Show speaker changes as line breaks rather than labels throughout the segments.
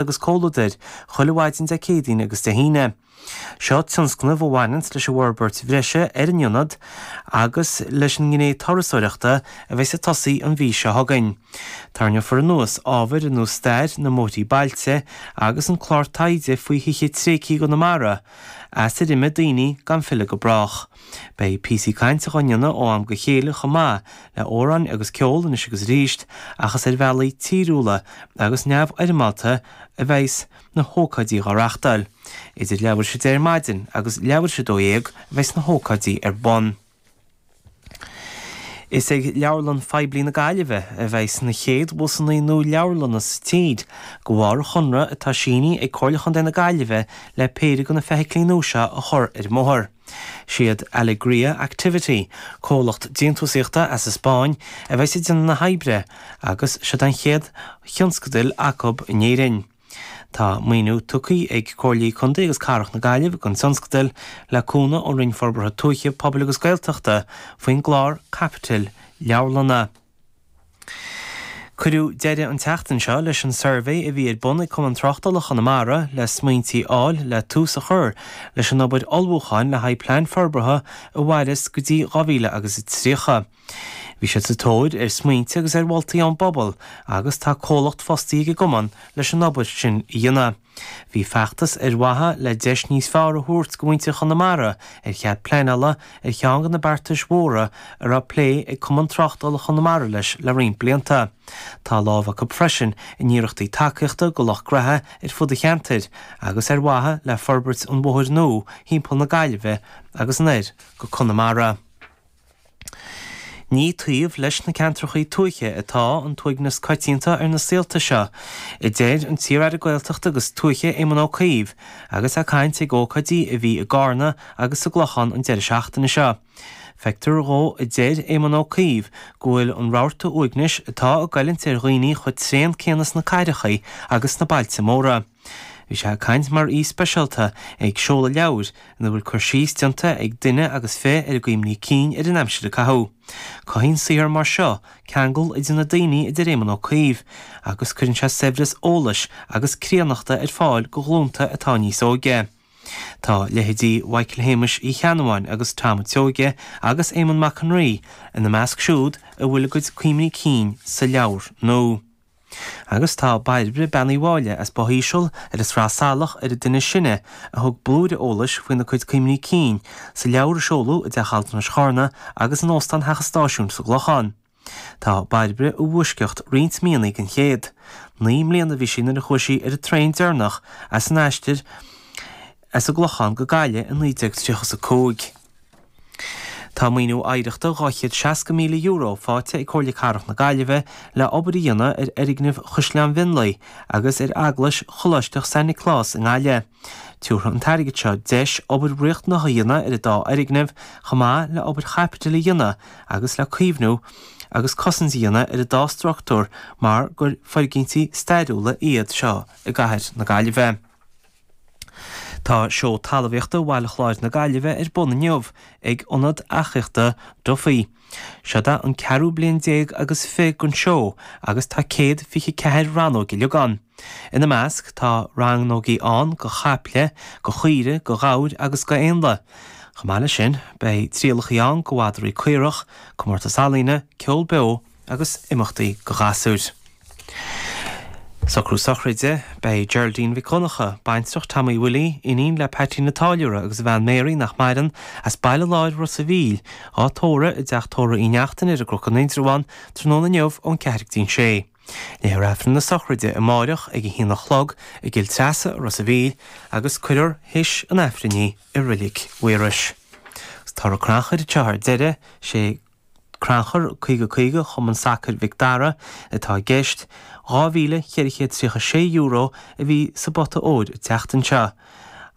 Agus Comhluadair, chuile mhaidin Dé Céadaoin agus Dé hAoine. Seo tionscnamh a bhaineanns leis an bhforbairt bhreise ar an ionad agus leis an ngné turasóireachta a bheas ag tosaí an mhí seo chugainn. Tarraingeofar anuas ábhair ar nós stair na mbóithrí bailte agus an clár taighde faoi thithe tréigthe i gConamara as ar imigh daoine gan filleadh go brách. Beidh píosaí cainte dhá ndéanamh ó am go chéile chomh maith le amhráin agus ceol anois agus arís ach is ar bhealaí tíriúla agus neamhfhoirmeálta a bheas na hócáidí dhá reachtáil. Idir leathuair tar éis a 10 ar maidin agus leathuair tar éis 12 a bheas na hócáidí ar bun. Is ag Leabharlann Phoiblí na Gaillimhe a bheas na chéad bhusanna nua leabharlanna sa tír, de bharr an chonradh atá sínithe ag Comhairle Chontae na Gaillimhe le péire de na feithiclí nua seo a chur ar an mbóthar. Siad Alegria Activity, comhlacht déantúsaíochta as an Spáinn, a bheas ag déanamh na hoibre agus seod an chéad thionscadal acu in Éirinn. Tá maoiniú tugtha ag Comhairlí Contae agus Cathrach na Gaillimhe don tionscadal le cúnamh ón Roinn Forbartha Tuaithe, Pobail agus Gaeltachta faoin gclár caipitil leabharlanna. Cuireadh deireadh an tseachtain seo leis an suirbhé a bhí ar bun ag Cumann Tráchtála Chonamara le smaointí a fháil le tús a chur leis an obair ullmhúcháin le haghaidh plean forbartha a mhairfeas go dtí 2000 agus 30. Bhí siad sa tóir ar smaointe agus ar mholtaí ón bpobal agus tá comhlacht fostaithe ag an gcumann leis an obair sin a dhéanamh. Bhí feachtas ar mhaithe le deis níos fearr a thabhairt go mhuintir Chonamara ar chead pleanála ar cheann de na beartais mhóra a raibh plé ag Cumann Tráchtála Chonamara leis le roinnt blianta. Tá lámh acu freisin in iarrachtaí tacaíochta go lucht graithe ar fud an cheantair agus ar mhaithe le forbairt an bhóthair nua thimpeall na Gaillimhe agus anoir go Conamara. Ní taobh leis na ceantrachaí tuaithe atá an t-uaigneas coitianta ar na saolta seo, a deir an t-iar-aire Gaeltachta agus Tuaithe Éamon Ó Cuív agus é ag caint ag ócáidí a bhí i gCarna agus sa gClochán an deireadh seachtaine seo. Feictear dhó, a deir Éamon Ó Cuív, go bhfuil an rabharta uaignis atá ag goilliúint ar dhaoine chomh tréan céanna sna cathrachaí agus sna bailte móra. Bhí sé ag caint mar aoi speisialta ag seoladh leabhair ina bhfuil cur síos déanta ag duine agus fi ar a gcuimhní cinn ar an aimsir a caitheadh. Cothaíonn saothar mar seo ceangal idir na daoine a deir Éamon Ó Cuív, agus cuireann sé saibhreas eolais agus críonnachta ar fáil go ghlúnta atá níos óige. Tá leithéidí Mhichael Shéamais Uí Cheannabháin agus Tom a' tSeoighe agus Éamonn Mac an Rí ina measc siúd a bhfuil a gcuid cuimhní cinn sa leabhar nua. Agus tá Bairbre, Bean Uí Mháille as Both Íseal ar an Sraith Salach ar an duine is sine a thug blúire eolais faoina cuid cuimhní cinn sa leabhar a seoladh i dTeach Altranais Charna agus in Óstán Theach an Stáisiúin sa gClochán. Tá Bairbre i bhfoisceacht roinnt míonna den chéad. 9 mbliana a bhí sí nuair a chuaigh sí ar an traein deireanach as an aistear as an gClochán go Gaillimh i 1935. Tá maoiniú oidhreachta €260,000 faighte ag Comhairle Cathrach na Gaillimhe le obair a dhéanamh ar fhoirgneamh Chaisleán Mhionlaigh agus ar Eaglais Choláisteach San Nioclás i nGaillimh. Tiúrfaidh an t-airgead seo deis obair riachtanach a dhéanamh ar an dá fhoirgneamh chomh maith le obair chaipitil a dhéanamh agus le caomhnú agus cosaint a dhéanamh ar an dá struchtúr mar gur foirgintí stairiúla iad seo i gcathair na Gaillimhe. Tá Seó Talmhaíochta Bhaile Chláir na Gaillimhe ar bun inniu ag Ionad Eachaíochta Duffy. Seod é an ceathrú bliain déag agus fi den seó agus tá 124 rannóg uilig ann. Ina measc tá rannógaí ann go chaiple, go chaoire, go ghabhair agus go éanlaith. Chomh maith leis sin beidh trialachaí ann go mhadraí caorach, comórtas ealaíne, ceol beo agus imeachtaí go ghasúir. Socrú sochraide, Beidh Geraldine Mhic Dhonncha, baintreach Tommy Willie, iníon le Patsy na Táilliúra agus a bhean Mary nach maireann, as Baile Láir Ros a' Mhíl, á tórramh i dteach tórraimh Uí Neachtain ar an gCnoc in Indreabhán tráthnóna inniu ón 4 go dtí an 6. Léifear Aifreann na sochraide amáireach ag a haon a chlog i gCill Treasa, Ros a' Mhíl, agus cuirfear théis an Aifrinn í i Reilig Mhaorais. Agus toradh crannchuir anseo ar deireadh, sé Crannchur 50 50 Chumann Sacair Mhic Dara atá i gceist. €2,436 a bhí sa bpota óir an tseachtain seo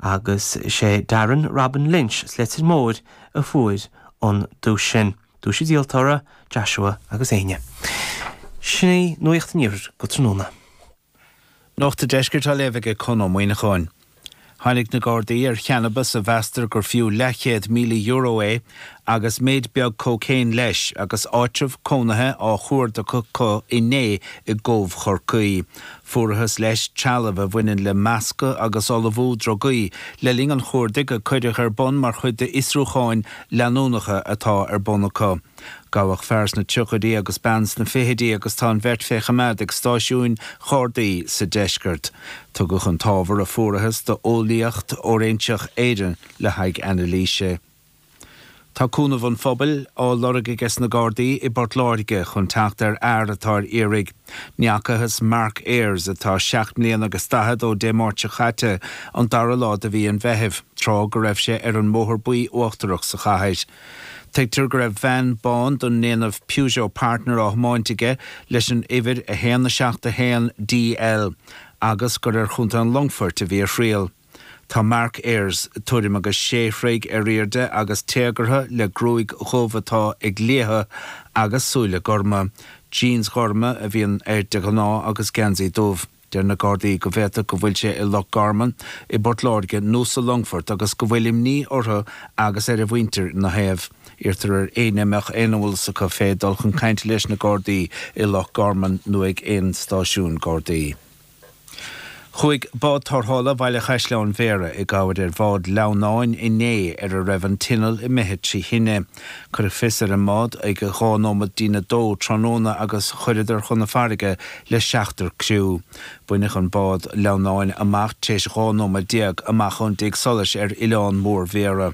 agus is é Darren Robin Lynch as Leitir Móir a fuair an duais sin. Duais an díoltóra, Joshua agus Éinne. Sin í Nuacht an Iarthair go tráthnóna.
Nuacht an Deiscirt á léamh aige Con Ó Muíneacháin. Tháinig na Gardaí ar channabas a mheastar gur fiú leathchéad €1,000 é agus méid beag cócaon leis agus áitreabh cónaithe á chuardach acu inné i gCóbh Chorcaí. Fuarathas leis trealamh a bhaineann le meascadh agus ullmhú drugaí le linn an chuardaigh a cuireadh ar bun mar chuid d'fhiosrúcháin leanúnacha atá ar bun acu. Gabhadh fear sna tríochaidí agus bean sna fichidí agus tá an bheirt fé choimeád ag stáisiúin Ghardaí sa deisceart. Tugadh an t-ábhar a fuarathas d'Eolaíocht Fhóiréinseach Éireann le haghaidh anailíse. Tá cúnamh an phobail á lorg aige na Gardaí i bPort Láirge chun teacht ar fhear atá ar iarraidh. Ní fhacathas Mark Ayres, atá seacht mbliana agus daichead, ó Dé Máirt seo caite, an dara lá de mhí an Mheithimh, tráth go raibh sé ar an mBóthar Buí Uachtarach sa chathair. Tuigtear go raibh veain bán den ndéanamh Peugeot Partner á thiomáint aige leis an uimhir 1 7 1 DL agus gur ar Chontae an Longfoirt a bhí a thriall. Tá Mark Ayres tuairim agus sé throigh ar airde agus téagartha le gruaig dhubh atá ag liathadh agus súile gorma. Jeans ghorma a bhíonn air de ghnáth agus geansaí dubh. Deir na Gardaí go bhféadfadh go bhfuil sé i Loch Garman, i bPort Láirge nó sa Longfort agus go bhfuil imní orthu agus ar a mhuintir ina thaobh. Iarrtar ar éinne a mbeadh aon eolas acu fé dul chun cainte leis na Gardaí i Loch Garman nó ag aon stáisiún Gardaí. Chuaigh bád tarrthála Bhaile Chaisleáin Bhéarra i gcabhair ar bhád sleamhnáin inné ar a raibh an t-inneall imithe trí thine. Cuireadh fios ar an mbád ag 2 nóiméad dtína dó tráthnóna agus chuireadar chun na farraige le seachtar criú. Baineadh an bád sleamhnáin amach tar éis 12 nóiméad amach ón dtigh solais ar Oileán Mór Bhéarra.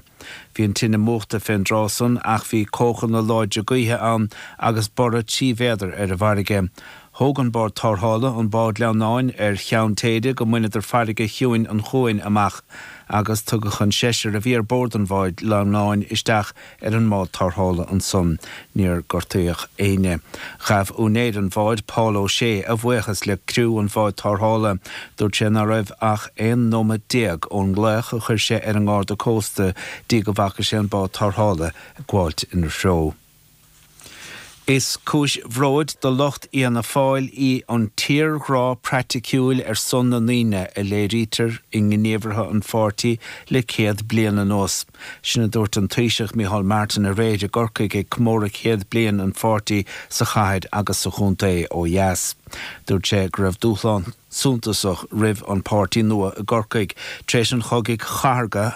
Bhí an tine múchta fén dtráth san ach bhí cóchanna láidre gaoithe ann agus borradh 3 mhéadar ar an bhfarraige. Thóg an bád tarrthála an bád sleamhnáin ar cheann téide go mbaineadar farraige chiúin an chuain amach agus tugadh an seisear a bhí ar bord an bháid sleamhnáin isteach ar an mbád tarrthála ansan. Níor gortaíodh éinne. Ghabh úinéir an bháid, Paul O'Shea, a bhuíochas le criú an bháid tarrthála. Dúirt sé ná raibh ach 11 nóiméad ón nglaoch a chuir sé ar an nGarda Cósta dtí go bhfaca sé an bád tarrthála ag gabháilt ina threo. Is cúis bhróid do lucht Fhianna Fáil í an tírghrá praiticiúil ar son na ndaoine a léirítear i ngníomhartha an pháirtí le 100 bliain anuas. Sin a dúirt an Taoiseach Micheál Martin aréir i gCorcaigh ag comóradh 100 bliain an pháirtí sa chathair agus sa chontae ó dheas. Dúirt sé go raibh dúshlán suntasach roimh an páirtí nua i gCorcaigh tar éis an chogaidh chathartha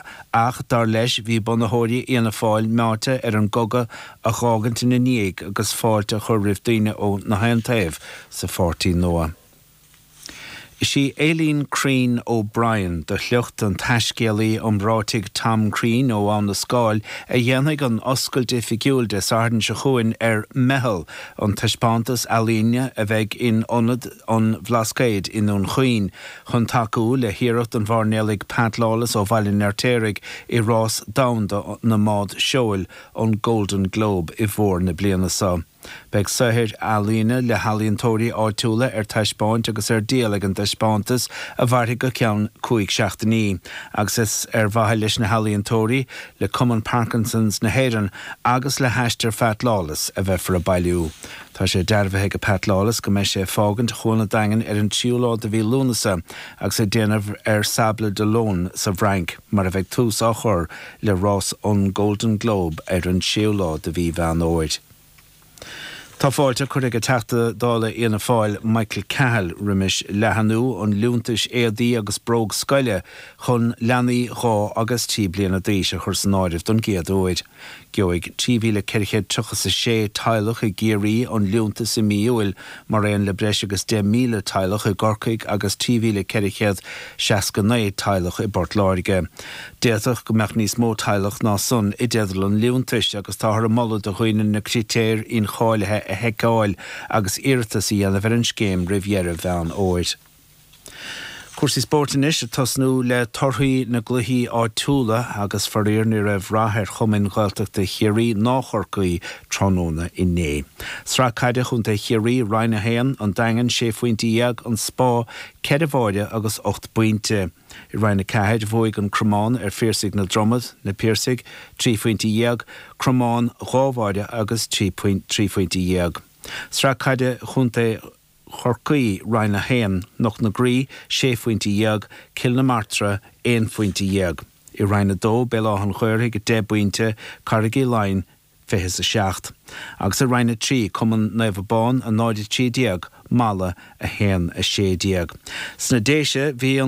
ach dar leis bhí bunaitheoirí Fhianna Fáil meáite ar an gcogadh a dh'fhágaint ina ndiaidh agus fáilte a chur roimh daoine ó na haon taobh sa pháirtí nua. Is í Aileen Crean O'Brien, de shliocht an taiscéalaí iomráitigh Tom Crean ó Abha na Scáil, a dhéanfaidh an oscailt oifigiúil Dé Sathairn seo chugainn ar Meitheal, an taispeántas ealaíne a bheidh in Ionad an Bhlascaoid i nDún Chaoin, chun tacú le hiarracht an mhairnéalaigh Pat Lawless ó Bhaile an Fheirtéaraigh i rás domhanda na mbád seoil, an Golden Globe, i bhfómhar na bliana seo. Beidh saothair ealaíne le healaíontóirí áitiúla ar taispeáint agus ar díol ag an dtaispeántas a mhairfidh go ceann cúig seachtainí agus is ar mhaithe leis na healaíontóirí, le Cumann Parkinson's na hÉireann agus le hAistear Phat Lawless a bheifear ag bailiú. Tá sé dearbhaithe ag Pat Lawless go mbeidh sé ag fágaint Chuan an Daingin ar an tríú lá de mhí Lúnasa agus ag déanamh ar Sables d'Olonne sa bhFrainc mar a bheidh tús á chur le rás an Golden Globe ar an séú lá de mhí Mheán Fhómhair. Tá fáilte curtha ag Teachta Dála Fhianna Fáil Michael Cahill roimis leathanú an liúntais éadaí agus bróg scoile chun leanaí 2 agus 3 bliana d'aois a chur san áireamh don gcéad uair. Gheobhaidh 3,436 teaghlach i gCiarraí an liúntas i mí Iúil, mar aon le breis agus 10,000 teaghlach i gCorcaigh agus 3,469 teaghlach i bPort Láirge. D'fhéadfadh go mbeadh níos mó teaghlach ná san i dteideal an liúntais agus táthar ag moladh do dhaoine na critéir incháilithe a sheiceáil agus iarratas a dhéanamh ar an scéim roimh dheireadh Mheán Fhómhair. Cúrsaí spóirt anois, ag tosnú le torthaí na gcluichí áitiúla agus faraor ní raibh rath ar chumainn Ghaeltachta Chiarraí ná Chorcaí tráthnóna inné. Sraith Caide Chontae Chiarraí, Roinn 1, An Daingean, sé phointe dhéag, An Spá, ceithre bháire agus ocht bpointe. I Roinn 4, bhuaigh An Cromán ar Phiarsaigh na Dromad, Na Piarsaigh, trí phointe dhéag, Cromán, dhá bháire agus 13 pointe. Sraith Caide Chontae. Chorcaí, Roinn 1, Cnoc na Graí, sé phointe dhéag, Cill na Martra, aon phointe dhéag. I Roinn 2, Béal Átha an Ghaorthaidh, 10 bpointe, Carraig Uí Leighin, 27. Agus i Roinn 3, Cumann Naomh Abán, 0, 13, Mala, 1, 16. Sna Déise, bhí an.